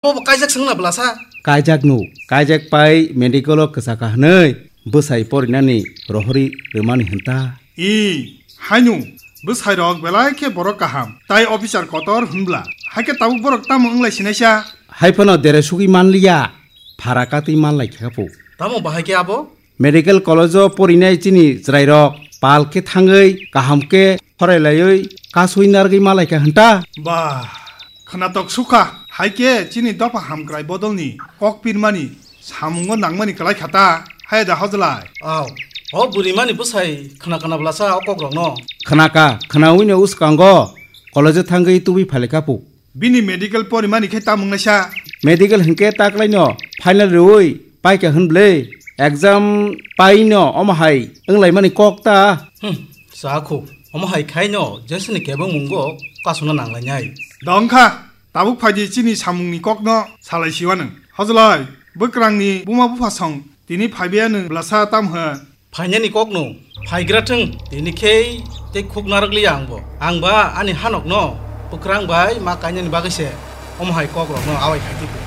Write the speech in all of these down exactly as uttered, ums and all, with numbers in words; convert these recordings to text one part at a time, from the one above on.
Bo bo kaijak swngna bwlasa. Kaijak nu, kaijak pai medical o kwchaka hwnwi bwsai porinani rohori rwmani hwnta. I, haino, bwsai rok belai khe borok kaham, tai officer kotor hwnbla. Haikhe tabuk borok tamo wnglai sinaisa? Haiphano dere sugwi manliya, phara katwi manlai kha pu. Tamo bahai khe abo? Medical college o porinai chini chwrairok pal khe thangwi kaham khe khorailaiwi kasui narwgwi malaikha hwnta. Ba, khwnatok sukha, hai khe chini dopha hamkrai bodolni kok pirmani samungo nangmani kwlai kha ta, hai da hojlai. Aw, o burimani bwsai khwna khwna bwlasa o kokrokno. Khwnaka, khwnawino uskango college o thangwi tubui phailaikha pu. Bini medical porimani khe tamo wngnaisa? Medical hinkhe taklaino final rwui paikha hwnble. Exam paino omo hai wnglaimani kok ta. Hmm, chakhu. Omo hai khaino jesini kebengmungo kasuna nanglainai. Dongkha, tabuk phaidi chini samungni kokno salai siwanwng. Hojlai, bwkrangni buma bupha song tini phaibiya nwng bwlasa tam hwn? Phainani kokno phaigra thung, tini khe tei khuk narwkliya angbo. Angba ani hanokno bwkrang bai ma kainani bagwi se omo hai kokrokno awai khai tiko.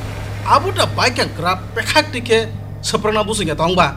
Abo da baikha grap pekhak twi khe swprakna busungya tongba.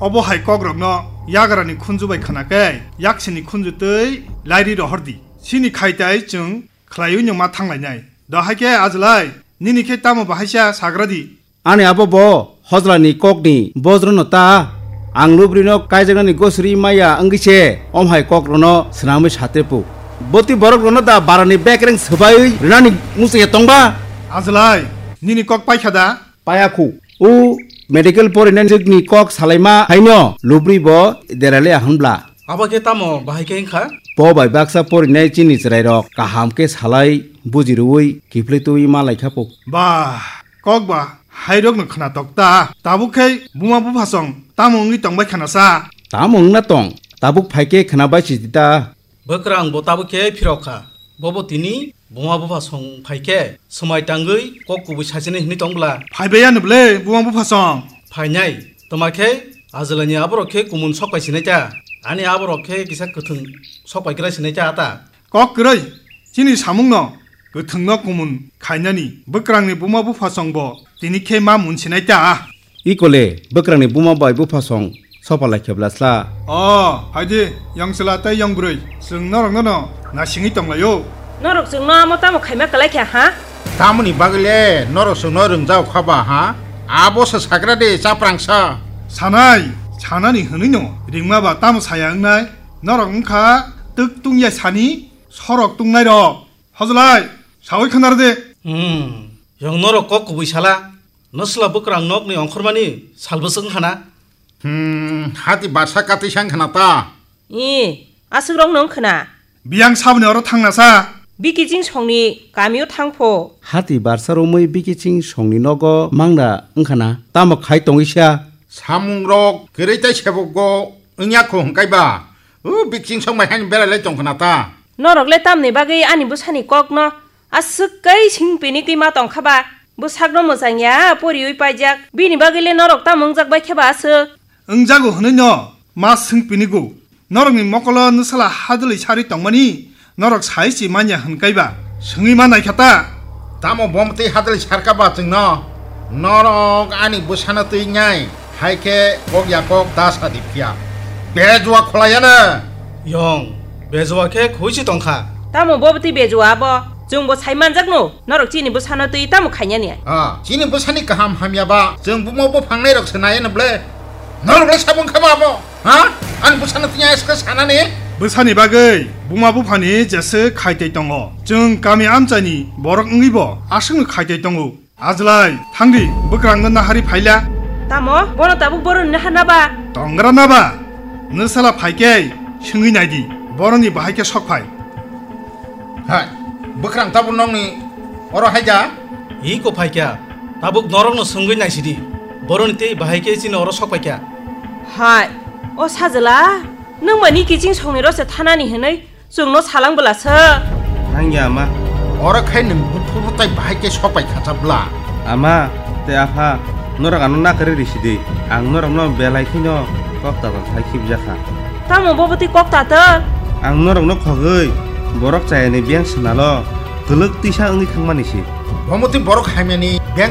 Obo hai kokrokno yagrani khunju bai khwna khe yaksini khunju twi lairi rohor di. Chini khaitai chwng khlaiwi no ma thanglainai. Do hai khe ajlai, nini khe tamo bahaisa sagra di. Ani abo bo hojlani kokni bojrono ta, ang lubrino kaijaknani gosri maya wngwi se omhai kokrono swnamwi satrepu. Boti borokrono da barani bekreng swbaiwi rwnani muchungya tongba? Ajlai, nini kok paikha da? Paya khu. O medical porinani jwkni kok salaima haino lubri bo derale ahwnbla. Abo khe tamo bahai khe wngkha? Po bai baksa porinai chini chwrairok kaham khe salai buji rwui kiphilwi twi ma laikha pu. Ba, kok ba, hairokno khwnatok ta. Tabuk khe buma buphasong tamo wngwi tongbai khana sa? Tamo wngna tong, tabuk phai khe khwnabai sidi ta. Bwkrang bo tabuk khe phirok kha. Bobo tini buma buphasong phai khe swmai tangwi kok kubui sachinai hwnwi tong bwla. Phaibai ano ble buma buphasong. Phainai, toma khe ajwlaini aborok khe kumun sok pai sinai ta. Ani aborok khe kisa kwthwng sok pai krai sinai ta ata. Kok kwrwi, chini samungno kwthwngno kumun khainani bwkrangni buma buphasongbo tini khe ma mun sinai ta. Ikole bwkrangni buma bai buphasong sopa lai khe bwlasla. O, phaidi, yong chwla tei yong bwrwi, chwng norokno no nasingwi tonglaio. Norok chwngno amo tamo khaima kwlai kha, ha? Tamoni bagwi le norok chwngno rwngjao kha ba, ha? Abo se sakra de, chaprangsa. Sanai, sanani hwnwi no ringma ba tamo saya wngnai? Norok wngkha twk tungya sani sorok tungnai rok. Hojlai, sawi khwnar de. Hmm, yong norok kok kubui sala. Nwsla bwkrang nokni ongkhormani salbwswk wngkhana? Hmm, hati barsa katwi sang khana ta? I, aswk rok nung khna. Biyang saboni oro thangna sa. Bikiching songni kamio thangpho. Hati barsa romwi Bikiching songni nogo mangna wngkhana. Tamo khai tongwi sa? Samung rok kwrwi tai sebokgo wngya kho hwnkaiba. O Bikiching song bai haino berai lai tong khna ta? Norok le tamni bagwi ani bwsani kokno aswk kai sing pini twi ma tong kha ba? Bwsakno mwchang ya, poriwi paijak. Bini bagwi le norok tamo wngjak bai khe ba aswk? Wngjago hwnwi no ma swng pini go. Norokni mokolo nwsala hadwlwi sarwi tongmani norok sai si manya hwn kaiba swngwi ma naikha ta? Tamo bom twi hadwlwi sarka ba chwngno? Norok ani bwsano twi nai, hai khe kok ya kok da sa di phiya. Bejua khwlai ya na? Yong, bejua khe khoi si tong kha. Tamo bo bwtwi bejua abo? Chwng bo sai manjak no, norok chini bwsano twi tamo khaina ni? Ah, chini bwsani kaham hamya ba chwng bumo buphang nai rok se nai no ble? Norok le sabung kha ba abo? Ha? Ani bwsano twi aska sanani? Bwsani bagwi buma buphani jesa khaitai tongo. Chwng kami amchaini borok wngwi bo aswkno khaitai tongo. Ajlai, thangdi, bwkrangno nahari phaila. Tamo? Bono tabuk boroni naharna ba? Tongra na ba? Nwsala phaikhe swngwi naidi, boroni bahai khe sok phai. Hai, bwkrang tabuk nokni oro haida? Iko phaikha, tabuk norokno swngwi naisidi, boroni tei bahai khe chini oro sok paikha. Hai, o sajla, nwng mani kiching songni rose thanani hwnwi chwngno salang bwlasa. Nangya ama. Oro khai nwng buphubo tai bahai khe sok pai khacha bwla. Ama tei apha, norok ano nakarwi risidi. Ang norokno belai kheno kok tatal khai khibjakha. Tamo bo bwtwi kok tatal? Ang norokno khogwi borok chayani biyang swnalo kwlwk twisa wngwi thangmani si. Bo mwtwi borok hamyani